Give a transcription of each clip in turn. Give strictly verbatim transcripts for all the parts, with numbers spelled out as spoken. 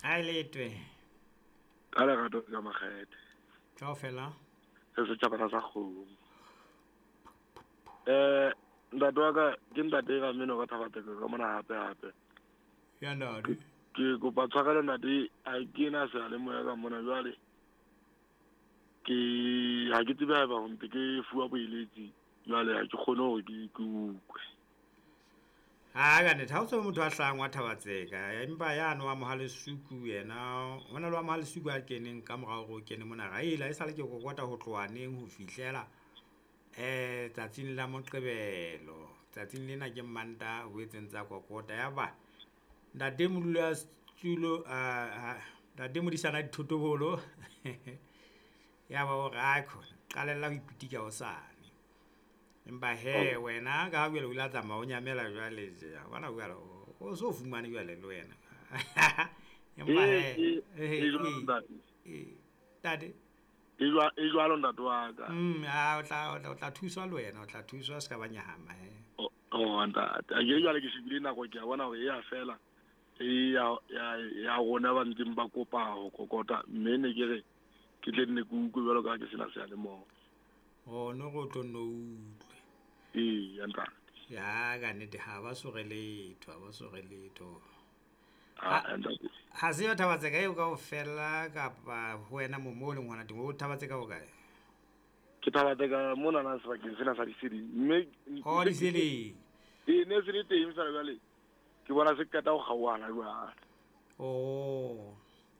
A letwe. Ka lerato ka makgethe. Kaofela. Se setjhaba sa kgomo. Eh ntate wa ka ke ntate ka mmino ka Thabatseka ka mona hape hape. Ya ntate. Ke kopa tshwarelo ntate, ha ke na seyalemoya ka mona jwale. Ke ha ke tsebe haeba ho ntse ke fuwa boeletsi jwale ha ke kgone hore ke ke utlwe. Ha ka nnete ha o tsebe motho a hlahang wa Thabatseka, empa yane wa Mohalesuku yena, ho na le wa Mohalesuku a keneng ka morao hore o kene mona. Raela e sale ke kokota ho tloha neng ho fihlela eh tsatsing la Moqebelo. Tsatsing lena ke Mantaha o etseng tsa kokota. Yaba ntate modula setulo a ntate modisana dithotobolo ya ba o re aikhona qalella ho ipitika hosane. Empa he wena ka ha jwale o ile a tsamaya o nyamela jwale tje, wa bona jwale o so fumane jwale le wena. Empa he E jwalo ntate. Ntate. E jwa e jwalo ntate wa ka. Mm, a o tla o tla thuswa le wena, o tla thuswa se ka ba nyahama he. Oh ntate, a ke jwale ke shebile nako ke a bona hore e ya fela. E ya ya ya rona ba ntseng ba kopa ho kokota, mme ne ke re ke tle nne ke utlwe jwalo ka ha ke sena seyalemoya. Oh no go tlo nno utlwe. Ee, ya ntate. Ya ka nnete ha ba so re letho, ha ba so re letho. Ah ntate. Ha se yo Thabatseka eo kaofela kapa ho wena mo mo leng hona teng, o Thabatseka ho kae? Ke Thabatseka mona na sebakeng sena sa Diseleng. Mme Oh Diseleng. Ee, ne se le teng fela jwale. Ke bona se qeta ho kgaohana jwale. Oh.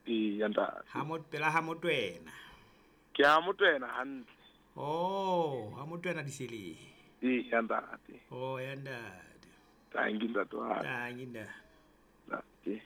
Ee, ya ntate. Ha mo pela ha Motwena. Ke ha Motwena hantle. Oh, ha Motwena Diseleng. Ee, ya ntate. Oh, ya ntate. Thank you ntate wa ka. Thank you ntate. Ntate.